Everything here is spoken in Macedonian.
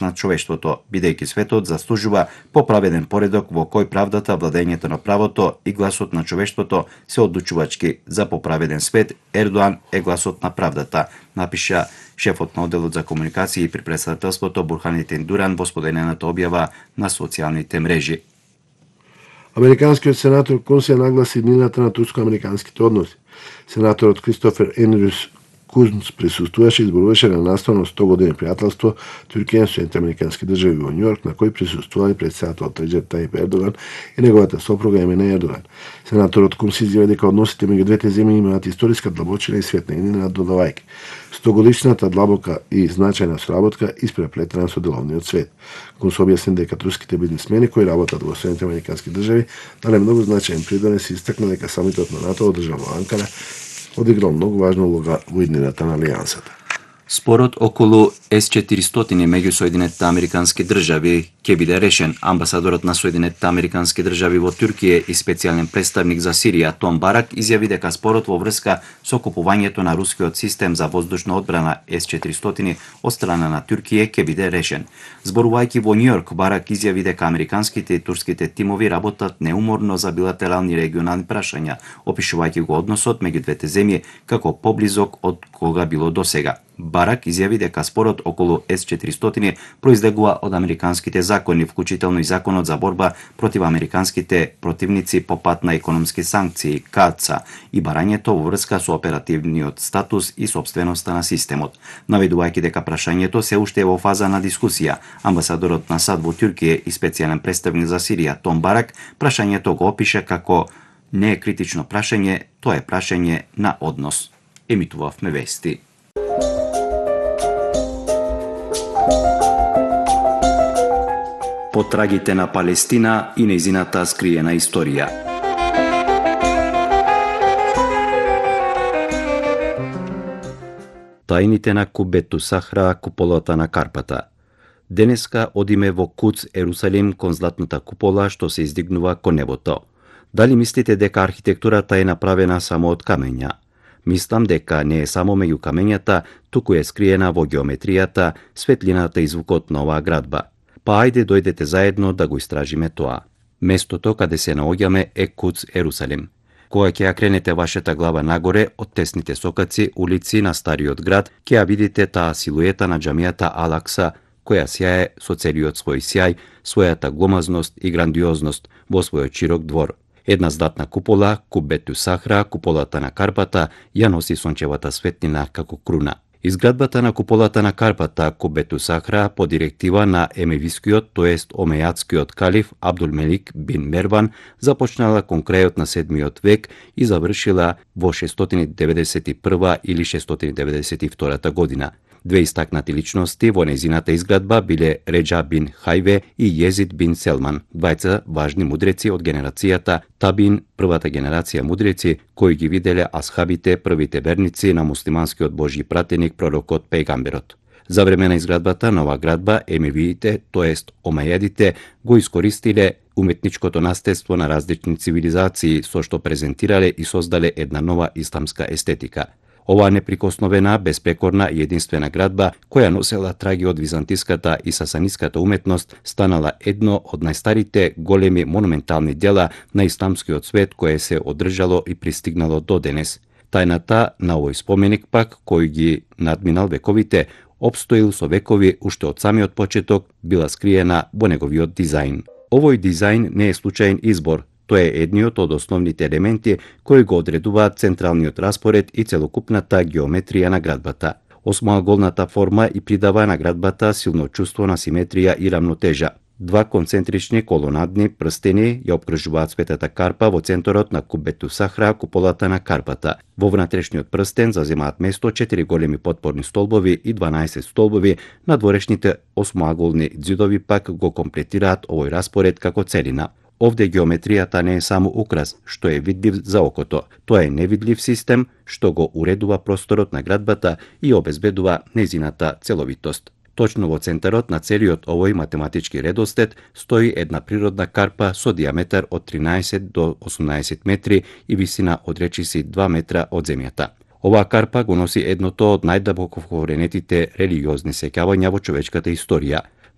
на човештвото, бидејќи светот заслужува поправеден поредок во кој правдата, владењето на правото и гласот на човештвото се одлучувачки. За поправеден свет Ердоан е гласот на правдата, напиша шефот на одделот за комуникации при претставителството Бурханетин Дуран во споделената објава на социјалните мрежи. Американскиот сенатор Кун се нагласи днината на турско-американските односи. Сенаторот Кристофер Енрюс Кунц присуствуваше и зборуваше на наставно 100 години пријателство Туркија и Соединените американски држави во Њујорк, на кој присуствували претседателот Реџеп Тајип Ердоган и неговата сопруга Емине Ердоган. Сенаторот Кунц изјави дека односите меѓу двете земји имаат историска длабочина и светна и наддодавајќи. 100-годишната длабока и значајна соработка испреплетена со деловниот свет. Кунц објасни дека турските бизнисмени кои работат во Соединените американски држави дале многу значаен придонес и истакна дека самитот на НАТО одржан во Анкара одиграл многу важна улога во иднината на алијансата. Спорот околу С-400 меѓу Соединетите американски држави ќе биде решен. Амбасадорот на Соединетите американски држави во Туркија и специјален представник за Сирија Том Барак изјави дека спорот во врска со купувањето на рускиот систем за воздушна одбрана С-400 од страна на Туркија ќе биде решен. Зборувајќи во Њујорк, Барак изјави дека американските и турските тимови работат неуморно за билатерални регионални прашања, опишувајќи го односот меѓу двете земји како поблизок од кога било досега. Барак изјави дека спорот околу С-400 произлегува од американските закони, вклучително и законот за борба против американските противници по пат на економски санкции, КАЦА, и барањето во врска со оперативниот статус и собственоста на системот. Наведувајќи дека прашањето се уште е во фаза на дискусија, амбасадорот на САД во Туркија и специјален представник за Сирија Том Барак прашањето го опиша како не е критично прашање, тоа е прашање на однос. Емитувавме вести. Потрагите на Палестина и нејзината скриена историја. Тајните на Кубету Сахра, куполата на Карпата. Денеска одиме во Куц, Ерусалим, кон златната купола што се издигнува кон небото. Дали мислите дека архитектурата е направена само од камења? Мислам дека не е само меѓу камењата, туку е скриена во геометријата, светлината и звукот на оваа градба. Па ајде дојдете заедно да го истражиме тоа. Местото каде се наоѓаме е Куц, Ерусалим. Кога ќе ја кренете вашата глава нагоре од тесните сокаци улици на стариот град, ќе ја видите таа силуета на џамијата Ал-Акса, која сјае со целиот свој сјај, својата гломазност и грандиозност во својот широк двор. Една златна купола, Кубету Сахра, куполата на Карпата, ја носи сончевата светлина како круна. Изградбата на куполата на Карпата, Кубету Сахра, по директива на емевискиот, тоест омејатскиот калиф Абдулмелик бин Мерван, започнала кон крајот на 7 век и завршила во 691 или 692 година. Две истакнати личности во нејзината изградба биле Реџа бин Хајве и Језид бин Селман, двајца важни мудреци од генерацијата Табин, првата генерација мудреци кои ги виделе асхабите, првите верници на муслиманскиот божји пратеник пророкот Пејгамберот. За време на изградбата на оваа градба емевиите, тоест омејадите, го искористиле уметничкото наследство на различни цивилизации со што презентирале и создале една нова исламска естетика. Оваа неприкосновена, безпрекорна и единствена градба, која носела траги од византиската и сасаниската уметност, станала едно од најстарите големи монументални дела на исламскиот свет кое се одржало и пристигнало до денес. Тајната на овој споменик пак, кој ги надминал вековите, обстоил со векови уште од самиот почеток, била скриена во неговиот дизајн. Овој дизајн не е случаен избор, тој е едниот од основните елементи кои го одредуваат централниот распоред и целокупната геометрија на градбата. Осмоаголната форма и придава на градбата силно чувство на симетрија и рамнотежа. Два концентрични колонадни прстени ја опкружуваат светата карпа во центарот на Кубету Сахра, куполата на Карпата. Во внатрешниот прстен заземаат место 4 големи потпорни столбови и 12 столбови, надворешните осмоаголни ѕидови пак го комплетираат овој распоред како целина. Овде геометријата не е само украс, што е видлив за окото. Тоа е невидлив систем, што го уредува просторот на градбата и обезбедува нејзината целовитост. Точно во центарот на целиот овој математички редослед стои една природна карпа со диаметар од 13 до 18 метри и висина од речиси 2 метра од земјата. Оваа карпа го носи едното од најдабоко вкоренетите религиозни сеќавања во човечката историја.